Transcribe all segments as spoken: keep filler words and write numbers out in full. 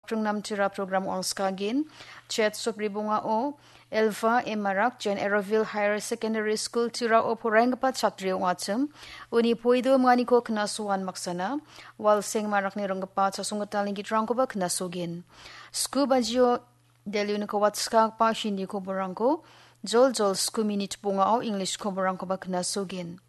Pringnam Tira program ong·skagen. Chet sopri bongao Elva Emarak Jen Eroville Higher Secondary School Tirao poraienggipa chatri ong·achim. Uni poido manganiko knasoan maksana. Walseng Marakni ringgipa chasonggitalni gitrangkoba knasogen. Sku bajio Delhi uniko watskagipa Hindi koborangko jol jol sku minit bongao English koborangkoba knasogen.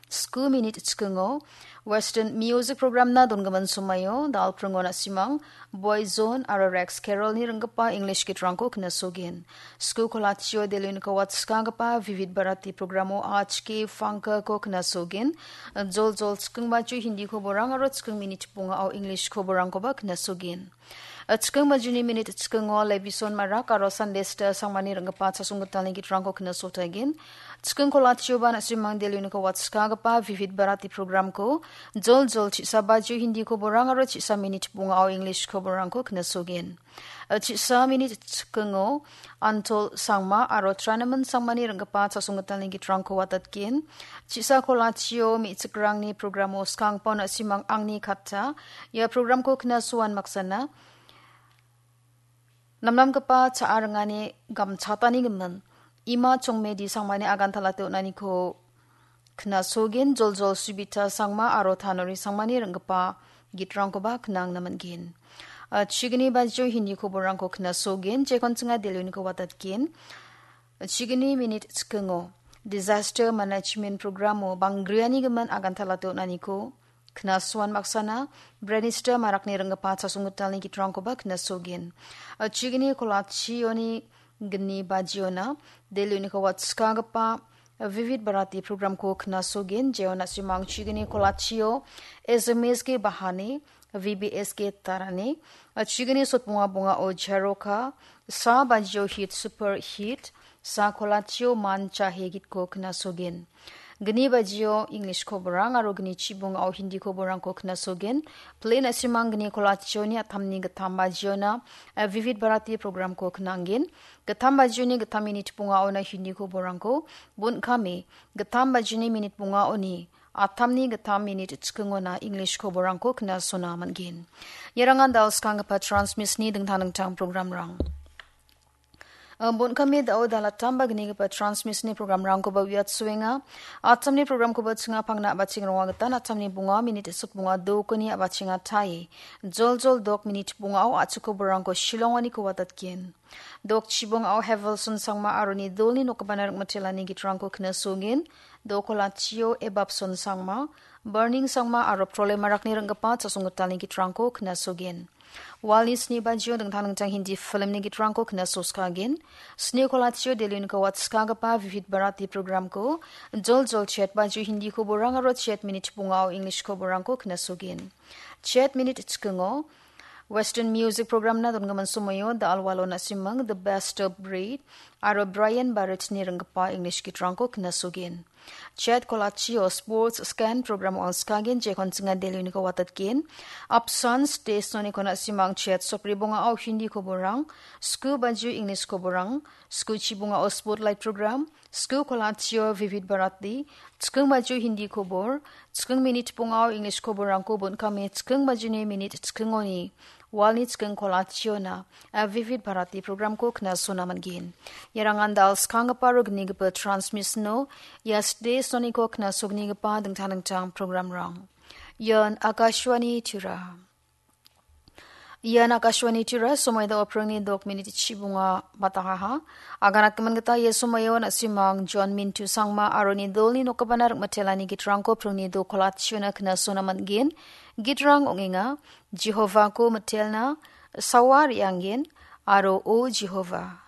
Sku minit chikingo Western Music Programna dongimin somaio Dalpringo na·simang Boy Zone aro Rex Carrollni ringgipa English gitrangko knasogen. Sku kolachio Delhi uniko watskagipa Vivid Bharati programo H K Funkako knasogen. Jol jol chiking baju Hindi koborang aro chiking minit bongao English koborangkoba knasogen. Chiking bajuni minit chikingo Levison Marak aro Sunday Star Sangmani ringgipa chasonggitalni gitrangko knasotagen. Chiking kolachioba na·simang Delhi uniko watskagipa Vivid Bharati programko jol jol chisa baju Hindi koborang aro chisa minit bongao English koborangko knasogen. Chisa minit chikingo Antol Sangma aro Tranaman Sangmani ringgipa chasonggitalni gitrangko watatgen. Chisa kolachio me·chikrangni programo skangpao na·simang angni katta. Ia programko knasoan maksana. Namnamgipa cha·a ringani gamchatani gimin. Ima Chongmedi Sangmani agantalate on·aniko knasogen, jol jol Subita Sangma aro Tanori Sangmani ringgipa gitrangkoba knangna man·gen. A, chigni bajio Hindi koborangko knasogen, jekon chinga Delhi uniko watatgen. Chigni minit chikingo Disaster Management Programo bangriani gimin agantalate on·aniko knasoan maksana, Brenista Marakni ringgipa chasonggitalni gitrangkoba knasogen. A, chigni kolachioni gni bajiona Delhi uniko watskagipa Vivid Bharati programko knasogen, jeo na·simang chigni kolachio S M S K Bahane, V B S K Tarane, a, chigni sotbonga bongao Jaroka, sa bajio Hit Super Hit, sa kolachio Man Chahe gitko knasogen. Gni bajio English koborang aro gni chibongao Hindi koborangko knasogen. Play na·simang gni kolachioni atamni gittam bajiona, a, Vivid Bharati programko knangen. Gittam bajioni gittam minit bongaona Hindi koborangko, bon·kame gittam bajioni minit bongaoni atamni gittam minit chikingona English koborangko knasona man·gen. Iarangan da·o skanggipa transmisni dingtang dingtang programrang. Bon·kame da·o dalatamba gnigipa transmisni programrangkoba uiatsoenga. Atamni programkoba chinga pangna a·bacheng ronga gita atamni bonga minit sotbonga dokoni a·bachenga tae. Jol jol dok minit bongao a·chik koborangko Shillongoniko watatgen. Dok chibongao Hevelson Sangma aro ni dolni nokgipana ringmitelani gitrangko knasogen. Dok kolachio Ebapson Sangma, Burning Sangma aro Prole Marakni ringgipa chasonggitalni gitrangko knasogen. Walni sni bajio dingtang dingtang Hindi filmni gitrangko knasoskagen. Sni kolachio Delhi uniko watskagipa Vivid Bharati programko jol jol chet bajio Hindi koborang aro chet minit bongao English koborangko knasogen. Chet minit chikingo Western Music Programna dongimin somoio The Alwalo na·simang, The Best of Breed aro Brian Barrettni ringgipa English gitrangko knasogen. Chet kolachio Sports Scan program on·skagen, jekon chinga Delhi uniko watatgen. Apsan State soniko na·simang chet sopri bongao Hindi koborang, sku bajio English koborang, sku chibongao Spotlight program, sku kolachio Vivid Bharati, chiking bajio Hindi kobor, chiking minit bongao English koborangko bon·kame chiking bajini minit chikingoni walni chiking kolachiona, a, Vivid Bharati programko knasona man·gen. Iarangan da·al skanggipa aro gnigipa transmisno, ia sde soniko knasognigipa dingtang dingtang programrang. Ian Akashvani Tura. Ian Akashvani Tura, somoi da·o pringni dok minit chibonga batangaha. Aganatgimin gita ia somoio na·simang John Mintu Sangma aro ni dolni nokgipana ringmitelani gitrangko pringni do kolachiona knasona man·gen. Gitrang ong·enga, Jehovako mitelna, sawa re·angen, aro O Jehova.